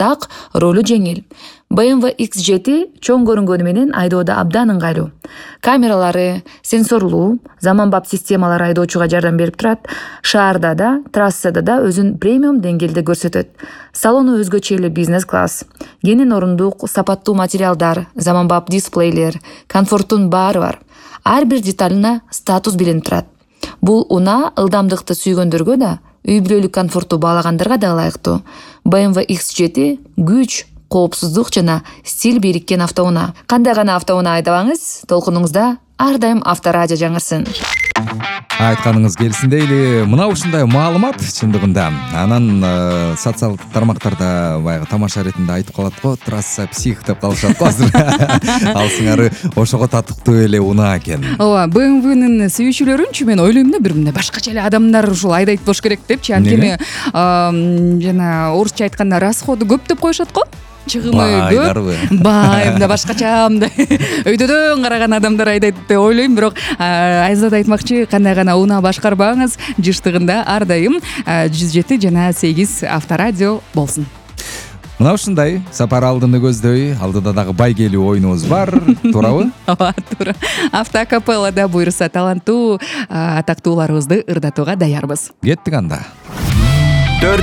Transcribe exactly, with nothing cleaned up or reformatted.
так ролу жеңил. бэ эм вэ икс жети чоң көрүнгөнү менен айдоодо абдан ыңгайлуу. Камералары, сенсорлуу, заманбап системалар айдоочуга жардам берип турат. Шаарда да, трассада да өзүн премиум деңгээлде көрсөтөт. Салону өзгөчө эле бизнес-класс. Кенен орундук, сапаттуу материалдар, заманбап дисплейлер, комфорттун баары бар. Ар бир деталына статус билинип турат. Бул унаа ылдамдыкты сүйгөндөргө да, үй бүлөлүк комфортту баалагандарга да ылайыктуу. бэ эм вэ икс жети күч, коопсуздук жана стиль бириккен автоунаа. Кандай гана автоунаа айдабаңыз, толкунуңузда ар дайым Авторадио жаңырсын. Айтканыңыз келсин дейли. Мына ушундай маалымат чындыгында анан э, социалдык тармактарда баягы тамаша иретинде айтып калат го, трасса псих деп калышат го азыр. Ал сыңары ошого татыктуу эле унаа экен. Ооба, бэ эм вэнин сүйүүчүлөрүнчү мен ойлойм да, бир мындай башкача эле адамдар ушул айдайт болуш керек депчи. Анткени жана орусча айтканда расходу көп деп коюшат го. Чыгымы көп, бай, мындай башкача мындай өйдөдөн караган адамдар айдайт деп ойлойм. Бирок Айзат айтмакчы, кандай гана унаа башкарбаңыз, жыштыгында ар дайым жүз жети жана сегиз Авторадио болсун. Мына ушундай сапар алдыны көздөй, алдыда дагы байгелүү оюнубуз бар, туурабы? Ооба, туура. Автокапеллада буйруса таланттуу атактууларыбызды ырдатууга даярбыз. Кеттик анда. төрт